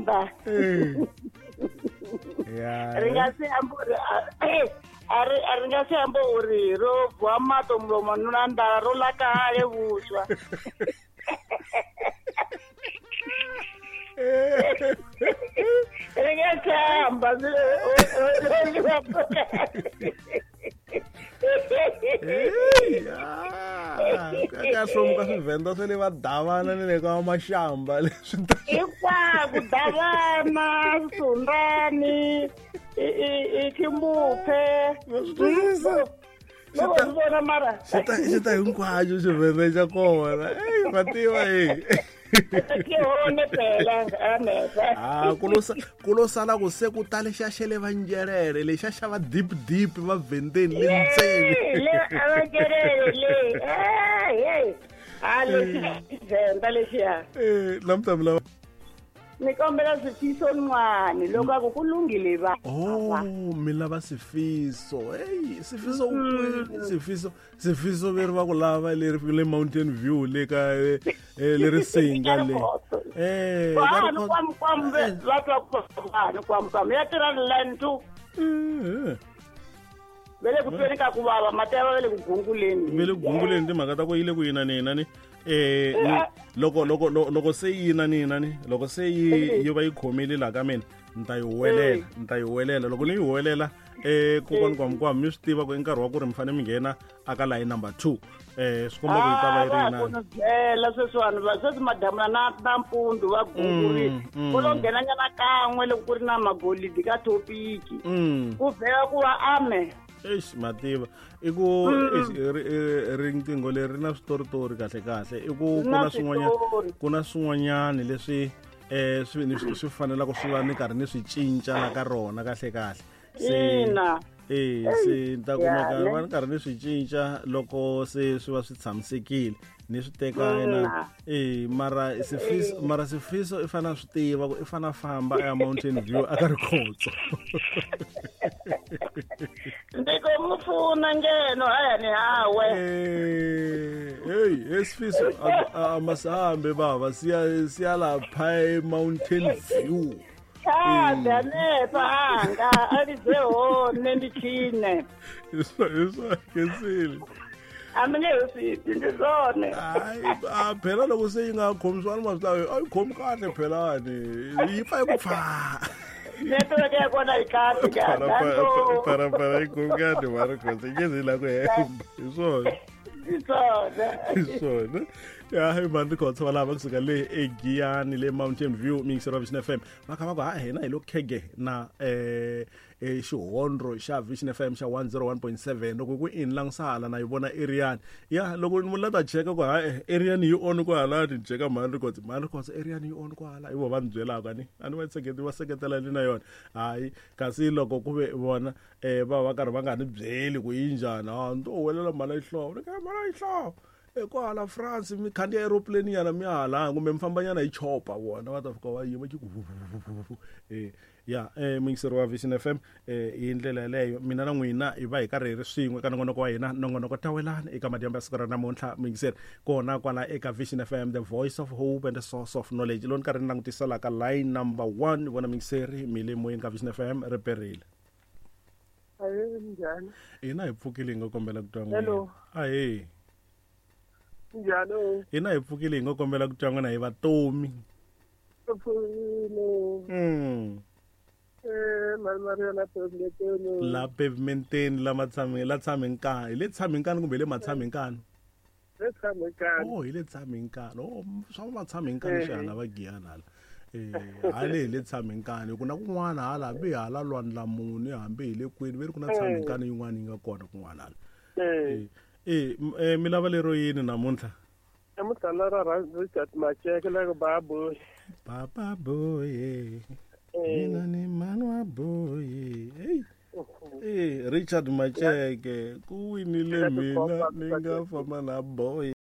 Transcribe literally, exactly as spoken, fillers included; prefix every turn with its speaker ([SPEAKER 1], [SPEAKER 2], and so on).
[SPEAKER 1] Xivenda.
[SPEAKER 2] Ya.
[SPEAKER 1] Ri nga si amba uri a ri a ri nga si amba uri ro bwa mato mulomo na nḓala ro ḽa kale vhuswa. Ri nga si amba
[SPEAKER 2] ka hlomuka swivenda swa le va Davana ni le ka Mashamba leswi
[SPEAKER 1] hinkwako Davana Sundani i Kimbuphe loko swi vona mara
[SPEAKER 2] xi ta xi ta hinkwaxo xivenda xa kona eyi ma tiva e ah ku lo ku lo sala ku se ku tale xa xele va njerere lexa xa va deep deep va vendeni le ntseni
[SPEAKER 1] le va njerere le hey a le venda lexiya
[SPEAKER 2] eh namuntlha mi lava
[SPEAKER 1] ni kombela Sifiso Ncwane loko a ku ku lunghile va
[SPEAKER 2] oh mi lava Sifiso hey Sifiso Sifiso Sifiso veri va ku lava leri le Mountain View le ka leri singa le eh
[SPEAKER 1] vanhu kwam kwam va twa ku vanhu kwam kwam ya tirha line two ve le ku tweni ka ku vava mati ya va le ku gunguleni
[SPEAKER 2] ve le ku gunguleni timhaka ta ku yi le ku yina ni yina ni eh loko loko loko se yina ni yina ni loko se yi yi va yi khomile la ka mina ni ta yi huwelela ni ta yi huwelela loko ni yi huwelela eh kokwana kwam kwam mi swi tiva ku i nkarhi wa ku ri mi fanele mi nghena aka line number two eh swi komba ku yi ta va yi ri yinani
[SPEAKER 1] ku byela sweswiwani va sweswi madamula na na mpundzu va gungurile ku lo nghenanyana kan'we loko ku ri na magolidi ka thopiki ku vhela ku va ame
[SPEAKER 2] eish mativa i ku riqingho leri ri na switoritori kahle kahle i ku ku na swin'wanyana ku na swin'wanyani leswi eh swi swi fanelaka swi va ni karhi ni swi cinca la ka rona kahle kahle se eh se ni ta kumeka va ni karhi ni swi cinca loko se swi va swi tshamisekile ni swi teka yena eh mara Sifiso mara Sifiso i fanele swi tiva ku i fanele famba a ya Mountain View a ka Rikhotso
[SPEAKER 1] ndiko mufuna ngeno haya ni hawe
[SPEAKER 2] eh hey Sifiso amasambe baba siya siya lapha e Mountain View
[SPEAKER 1] cha danepha anga alize hone ndi tshine
[SPEAKER 2] iswa kesile
[SPEAKER 1] amine usiphi ndi zwone
[SPEAKER 2] hayi a phela loko se yi nga khomisiwani ma swi lava a yi khomi kahle phelani yi pfa yi ku pfa
[SPEAKER 1] network ya kona yi kahle
[SPEAKER 2] parapara yi khomi kahle mara khotse nge zi la ku hemba hi swona
[SPEAKER 1] hi swona
[SPEAKER 2] hi swona ya hi mani Rikhotso va lava kusuka le eGiyani le Mountain View mixer wa Vision F M va kha va ku ha hina hi lo khege na eh e xihondro xa Vision F M xa one oh one point seven loko ku in langusala na yi vona Arian ya loko ni la ta cheka ku ha Arian yi on ku hala ni cheka mani Rikhotso mani Rikhotso Arian yi on ku hala hi vo va ni byelaka ni a ni va seketela va seketela ni na yona hayi kasi loko ku ve vona eh va va karhi va nga ni byeli ku yi njhani a ni to huwelela mali ya xihlovo ni ka mali ya xihlovo kwala France mi khandziya aeroplane nyana mi hala kumbe mi fambanyana hi chopa vona va ta fika va yima ki ku eh ya eh muyingiseri wa Vision F M eh hi ndlela yeleyo mina na n'wina hi va hi karhi hi ri swin'we ka nongonoko wa hina nongonoko tawelani eka madyambu ya siku ra namuntlha muyingiseri kona kwala eka Vision F M the voice of hope and the source of knowledge loko ni karhi ni langutisela ka line number one ni vona muyingiseri mi le moyeni ka Vision F M ri perile
[SPEAKER 3] njhani
[SPEAKER 2] hina hi pfukile hi nga kombela ku twa n'wina ahee
[SPEAKER 3] njhani
[SPEAKER 2] hina hi pfukile hi nga kombela ku twa n'wina hi vatomi
[SPEAKER 3] pfukile
[SPEAKER 2] mm
[SPEAKER 3] eh Maria la pavementeni
[SPEAKER 2] la pavementeni la matshameni la tshamenkani hi le tshamenkani kumbe hi le matshamenkani
[SPEAKER 3] le tshamenkani
[SPEAKER 2] oh hi le tshamenkani oh swa matshamenkani swi hala va Giyani hala eh hale hi le tshamenkani ku na kun'wana hala hambi hala lwandla muni hambi hi le kwini ve ri ku na tshamenkani yin'wana yi nga kona kun'wana hala
[SPEAKER 3] eh
[SPEAKER 2] eh mi lava lero yini namuntlha
[SPEAKER 3] namuntlha la ra Richard Macheke la baba boy
[SPEAKER 2] baba boy mina ni manwa boy hey eh Richard Macheke ku winile mina ni nga famba na boy.